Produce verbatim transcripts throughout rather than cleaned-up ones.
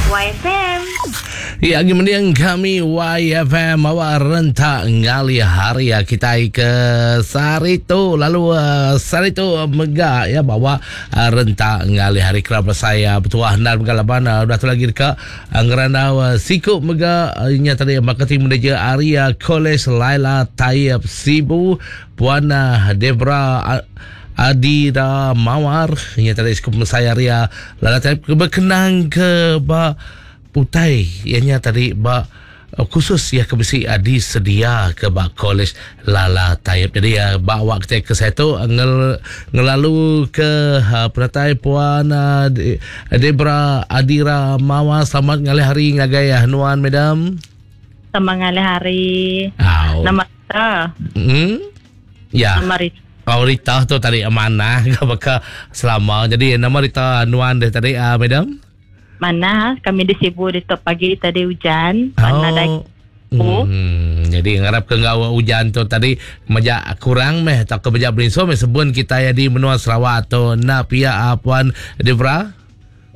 Y F M. Ya, kemudian kami Y F M bawa rentak ngalih hari ya kita ke sehari tu, lalu uh, sehari tu mega ya bawa uh, rentak ngalih hari kerap saya bertuah dan pengalaman uh, udah tu lagi dekat uh, ngerandau uh, siku mega uh, nya tadi marketing manager Area College Laila Taib Sibu, Puan uh, Debra uh, Adira Mawar. Nya tadi siku saya Ria Laila Taib berkenang ke ba utai ianya tadi ba uh, khusus ya ke besi uh, disedia ke ba College Lala Taib. Jadi uh, bawa kita ke saya tu ngel, ngelalu ke uh, penatai Puan uh, Debra Adira Mawa. Selamat ngalih hari ngagai uh, nuan, madam. Selamat ngalih hari. Au. Nama kita. Hmm? Ya. Nama Rita. Oh, Rita tu tadi amanah ke baka selama. Jadi nama Rita nuan deh tadi, uh, madam? Mana kami di Sibu di top pagi tadi hujan. Mana dai. Oh. Hmm, jadi ngarap ke ngau hujan tu tadi majak kurang meh tak ke majak berinso meh sebun kita ya di menua Sarawak atau nak pihak uh, Puan Debra.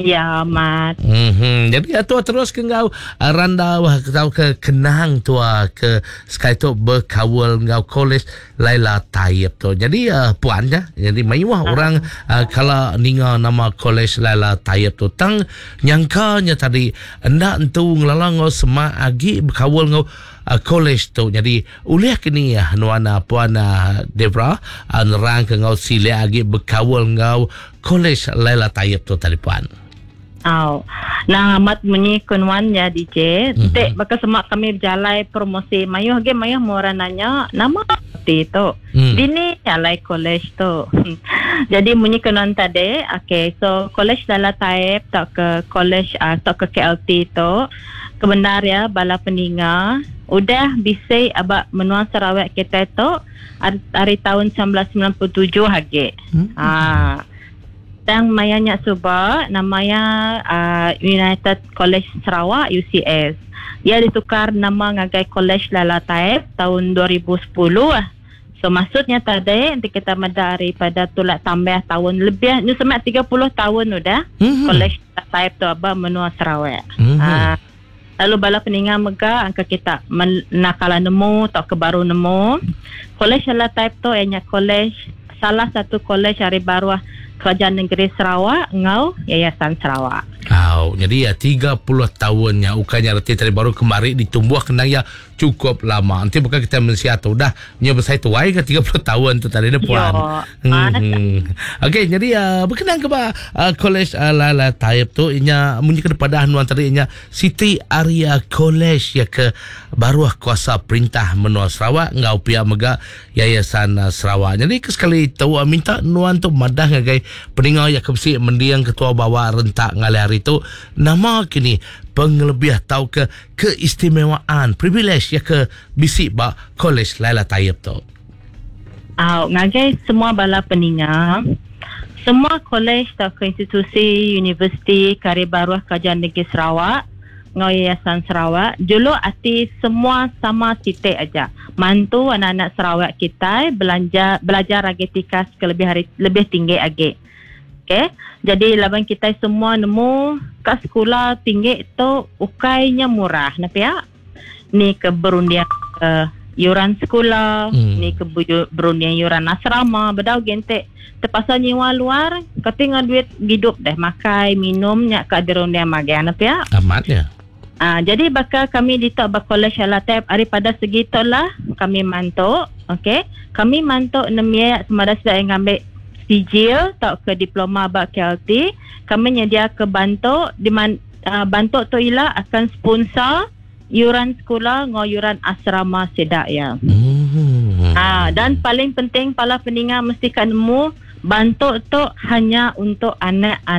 Ya, amat. Hmm, jadi ya, tua terus ke ngau uh, randau tau ke kenang tua ke sekali tu berkawal ngau College Laila Taib tu. Jadi uh, puan ya, jadi mayuah uh. orang uh, kalau ninga nama College Laila Taib tu tang nyangkanya tadi endak entu ngelalang ngau semak agi berkawal ngau uh, college tu. Jadi ulih kini ya nuana Puan uh, Debra uh, nerang ke ngau sila agi berkawal ngau College Laila Taib tu tadi, puan. Aw. Nah, amat munyi kunwan ya D J. Mm-hmm. Tek baka semak kami berjalai promosi mayuh ge mayuh orang nanya nama ti tu. Mm. Dini alai college tu. Jadi munyi kunuan tadi, okay, so College Lala Taib tak ke college uh, tak ke K L T tu kebenar ya bala peninga udah bisa abak menua Sarawak kita tu hari tahun seribu semilan ratus semilan puluh tujuh hage. Hmm. Ah. Tang mayanya suba namanya uh, United College Sarawak, U C S. Ia ditukar nama ngagai College Lala Taib tahun dua ribu sepuluh lah. So maksudnya tadi nanti kita daripada tulak tambah tahun lebih ni semak tiga puluh tahun udah mm-hmm. College Lala Taib tu aba menua Sarawak. Mm-hmm. Uh, lalu bala peninga mega angka kita nakala nemu atau ke baru nemu College Lala Taib tu ianya college salah satu college hari baru Kerajaan Negeri Sarawak ngau Yayasan Sarawak. Oh, jadi ya tiga puluh tahunnya ukanya reti tadi baru kemari ditumbuh kena ya cukup lama. Nanti bukan kita mensia tu dah nya besar tuai ke tiga puluh tahun tu tadi dah, puan. Yo, Hmm. Okey, jadi uh, berkenaan ke ba uh, College uh, Lala Taib tu inya munyi ke depan nuan tadi inya City Area College ya ke baru kuasa perintah menua Sarawak ngau pihak mega Yayasan uh, Sarawak. Jadi ke sekali tu uh, minta nuan tu madah ngagai peninga ya ke besi mendiang ketua bawa rentak ngalih hari tu nama kini pengelebih atau ke keistimewaan privilege ya ke bisi ba College Laila Taib tu. Ah, ngagai semua bala peninga, semua college atau ke institusi universiti karya baru Kerajaan Negeri Sarawak ngau Yayasan Sarawak julu ati semua sama titik aja. Mantu anak-anak Sarawak kita belanja belajar lagi tikas ke lebih hari lebih tinggi agi. Okey. Jadi laban kita semua nemu kat sekolah tinggi tu ukainya murah, napa ya? Ni ke berundian ke yuran sekolah, Hmm. ni ke berundian yuran asrama, bedau gente terpaksa nyewa luar, ketinggal duit hidup deh, makai, minumnya kat dirundian magan, napa ya? Amatnya. Ah, jadi bakal kami di Tok Bakola Syalatep daripada segi tu lah kami mantuk, okey. Kami mantuk nemia semada sudah yang ambil sijil atau ke diploma bak K L T, kami nyedia ke bantu di man, uh, bantu tu ila akan sponsor yuran sekolah ngau yuran asrama sedak ya. Hmm. Ah, dan paling penting para peninga mesti kan nemu bantu tu hanya untuk anak-anak